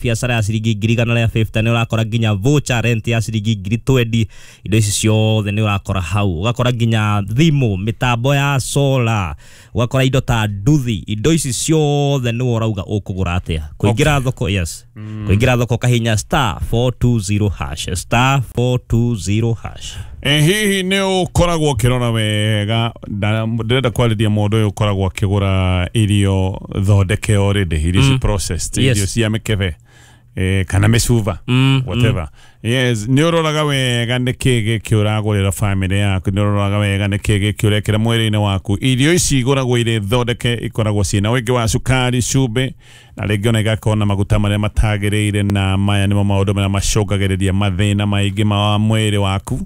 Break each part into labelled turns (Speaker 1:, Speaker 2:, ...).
Speaker 1: Biacara ya ciringi 150,000 nĩ ũrakora nginya voucher rent ya ciringi 20,000. Indo ici ciothe nĩ ũrakora hau. Ũgakora nginya thimũ, mĩtambo ya solar, ũgakora indo ta nduthi. Indo ici ciothe nĩ ũrauga ũkũgũra atĩa. Kũingĩra thoko, yes, kũingĩra thoko kahinya *420#, *420#.
Speaker 2: Hihi nĩ ũkoragwo ũkĩrora wega? Ndĩrenda kwarĩria mũndũ ũyũ ũkoragwo akĩgũra irio thondeke already, irio ci processed, irio cia mĩkebe kana mĩcuba, whatever. Yes, nĩ ũroraga wega nĩ kĩ gĩkĩ ũragũrĩra famĩlĩ yaku, nĩ ũroraga wega nĩ kĩ gĩkĩ ũrekĩra mwĩrĩ-inĩ waku. Irio ici igũragwo irĩ thondeke ikoragwo ciĩna ũingĩ wa cukari, cumbĩ, na rĩngĩ ona igakorwo na maguta marĩa matagĩrĩire, na maya nĩmo maũndũ marĩa macũngagĩrĩria mathĩna maingĩ ma mwĩrĩ waku.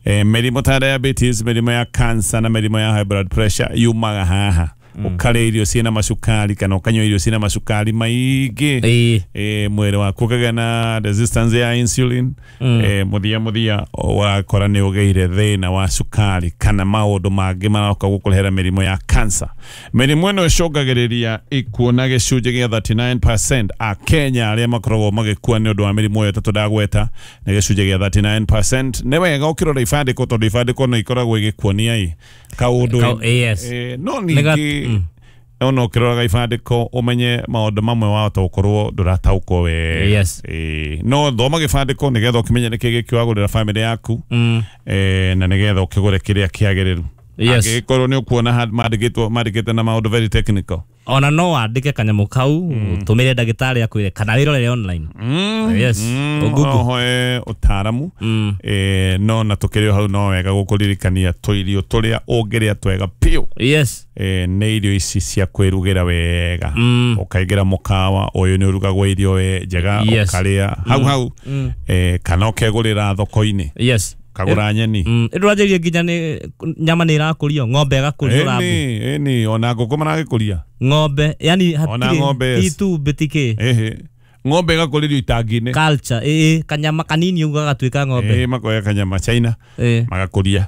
Speaker 2: Mĩrimũ ta diabetes, mĩrimũ ya cancer na mĩrimũ ya high blood pressure yumaga haha. Ũkarĩa irio ciĩna macukari kana ũkanyua irio ciĩna macukari maingĩ, mwĩrĩ waku ũkagĩa na resistance ya insulin. Mũthia mũthia ũrakora nĩ ũgĩire thĩna wa cukari kana maũndũ mangĩ maroka gũkũrehera mĩrimũ ya cancer. Mĩrimũ ĩno ĩcũngagĩrĩria ikuũ na gĩcunjĩ gĩa 39%. Akenya arĩa makoragwo magĩkua nĩ ũndũ wa mĩrimũ ĩyo ĩtatũ ndagweta nĩ gĩcunjĩ gĩa 39%. Nĩ wega ũkĩrora ibandĩko, tondũ ibandĩko no ikoragwo igĩkuonia ĩ kaũndũ. No ningĩ ona ũkĩroraga ibandĩko ũmenye maũndũ mamwe wahota gũkorwo ndũrataũkwo wega. No thoma gĩbandĩko nĩgetha ũkĩmenye nĩkĩ gĩkĩ wagũrĩra famĩlĩ yaku, na nĩgetha ũkĩgũre kĩrĩa kĩagĩrĩru. Angĩgĩkorwo nĩ ũkuona mandĩkĩte na maũndũ very technical,
Speaker 1: ona no wandĩke kanyamũ kau ũtũmĩre ndagĩtarĩ akwĩre kana wĩrorere online. Yes,
Speaker 2: ũhoe ũtaaramu. No na tũkĩrĩ o hau no wega gũkũririkania tũirio tũrĩa ũngĩrĩa twega biũ. Nĩ irio ici cia kwĩrugĩra wega. Ũkaingĩra mũkawa ũyũ nĩ ũrugagwo irio njega, ũkarĩa hau hau, kana ũkegũrĩra thoko-inĩ. Kagũra nyeni.
Speaker 1: Ĩndũranjĩrie nginya nĩ nyama nĩ ĩrakũrio, ng'ombe ĩgakũrio rambu.
Speaker 2: Ĩni, ona ngũkũ maragĩkũria.
Speaker 1: Ng'ombe, yani hatirĩ itumbĩ tikĩ.
Speaker 2: Ng'ombe ĩgakũrĩrio itangi-inĩ.
Speaker 1: Culture, kanyama kanini ũguo gagatuĩka ng'ombe.
Speaker 2: Makoya kanyama China, magakũria.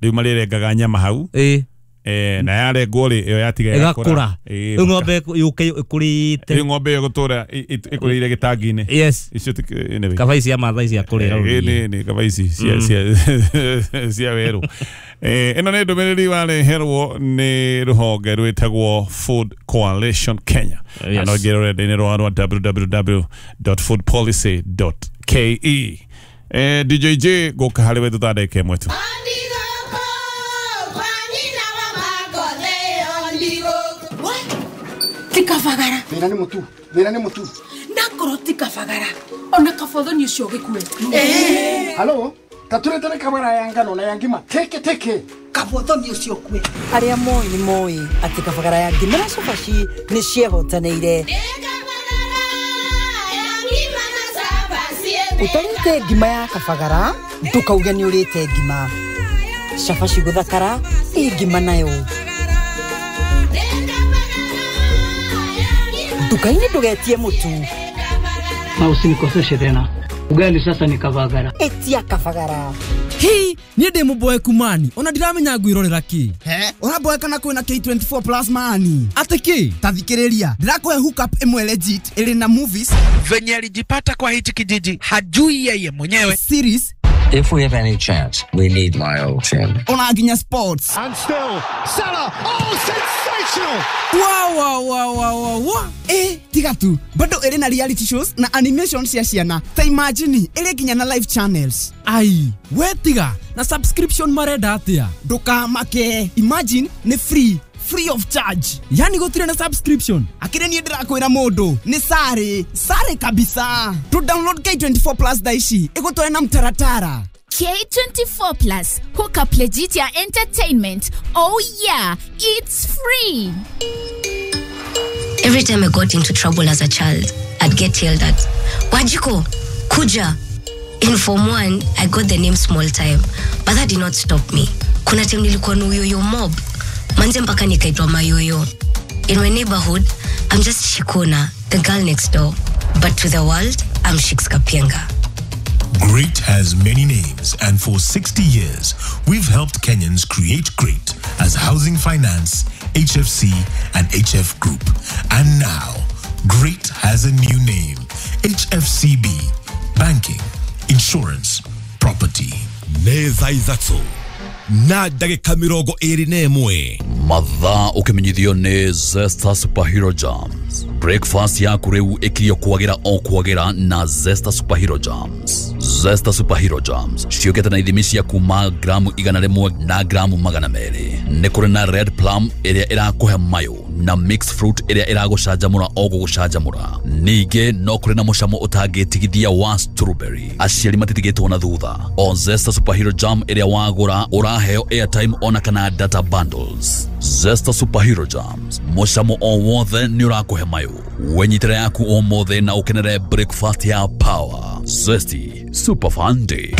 Speaker 2: Rĩu marĩrengaga nyama hau. Na yarengwo rĩ, ĩyo yatiga
Speaker 1: ĩgakũra. Rĩu ng'ombe yũke ĩkũrĩte.
Speaker 2: Rĩu ng'ombe ĩyo ĩgũtũra ĩkũrĩire gĩtangi-inĩ. Icio anyway.
Speaker 1: Kaba ici cia Maathai cia kũrĩra rũriĩ.
Speaker 2: Nĩ kaba ici cia werũ. Ĩno nĩ ndũmĩrĩri wareherwo nĩ rũhonge rwĩtagwo Food Coalition Kenya. Na no ũingĩre rũrenda-inĩ rwao rwa www.foodpolicy.ke. DJ J gũka harĩ we thutha ndagĩka ĩmwe tu.
Speaker 3: Tikafagara.
Speaker 4: Thĩna nĩ mũtu, thĩna nĩ mũtu.
Speaker 3: Ndakorwo tikafagara. Ona kabothoni ũcio ũgĩkue.
Speaker 4: Halo, tatũrĩte kabara ya ngano na ya ngima. Teke teke.
Speaker 3: Kabothoni ũcio ũkue.
Speaker 5: Arĩa moĩ nĩ moĩ atĩ kabagara ya ngima na cabaci nĩ ciehotanĩire. Ũtarĩte ngima ya kabagara, ndũkauge nĩ ũrĩte ngima. Cabaci gũthakara, ĩ ngima nayo. Nduka-inĩ ndũgetie mũtu.
Speaker 6: Na usinikoseshe tena. Ugali sasa ni kabagara.
Speaker 5: Etia kabagara.
Speaker 7: Hi, niĩ ndĩ mũboeku mani, ona ndiramenya ngwĩrorera kĩ.
Speaker 8: He, ũraboeka na kwĩna K24 Plus mani.
Speaker 7: Atĩ kĩ?
Speaker 8: Ta thikĩrĩria, ndĩrakũhe hookup ĩmwe legit ĩrĩ na movies.
Speaker 9: Venye alijipata kwa hichi kijiji hajui yeye mwenyewe.
Speaker 8: Series.
Speaker 10: If we have any chance, we need Lyle Chin.
Speaker 8: Ona nginya sports.
Speaker 11: And still, Salah, oh, sensational!
Speaker 7: Wow, wow, wow, wow, wow.
Speaker 8: Tiga tu, bado ĩrĩ na reality shows na animation cia ciana. Ta imagine, ĩrĩ nginya na live channels.
Speaker 7: Ai, we tiga, na subscription marenda atĩa?
Speaker 8: Ndũkamake, imagine nĩ free. Free of charge.
Speaker 7: Yani gũtirĩ na subscription.
Speaker 8: Akĩrĩ niĩ ndĩrakwĩra mũndũ nĩ sare, sare kabisa. To download K24 Plus thaa ici ĩgũtware na mtaratara.
Speaker 12: K24 Plus, hook up legit ya entertainment. Oh yeah, it's free.
Speaker 13: Every time I got into trouble as a child, I'd get yelled at. Wajiko, Kuja. In Form 1, I got the name Small Time, but that did not stop me. Kuna time nilikuwa na uyoyo mob. Manze mpaka nikaitwa mayoyo. In my neighborhood, I'm just Shikona, the girl next door. But to the world, I'm Shiks Kapienga.
Speaker 14: Great has many names, and for 60 years, we've helped Kenyans create great as Housing Finance, HFC, and HF Group. And now, Great has a new name. HFCB, banking, insurance, property.
Speaker 15: Nĩ thaa 3 na ndagĩka 21.
Speaker 16: Mathaa ũkĩmenyithio nĩ Zesta Superhero Jams. Breakfast yaku rĩu ĩkirio kwagĩra o kwagĩra na Zesta Superhero Jams. Zesta Superhero Jams ciũkĩte na ithimi cia kuma gramu 100 na gramu 200. Nĩ kũrĩ na red plum ĩrĩa ĩrakũhe mayũ na mixed fruit ĩrĩa ĩragũcanjamũra o gũgũcanjamũra. Ningĩ no kũrĩ na mũcamo ũtangĩtigithia wa strawberry. Aciari matitigĩtwo na thutha. O Zesta Superhero Jam ĩrĩa wagũra ũraheo airtime ona kana data bundles. Zesta Superhero Jams, mũcamo o wothe nĩ ũrakũhe mayũ. Wenyitĩra yaku ũmũthĩ na ũkenere breakfast ya power. Zesty Super Fun Day.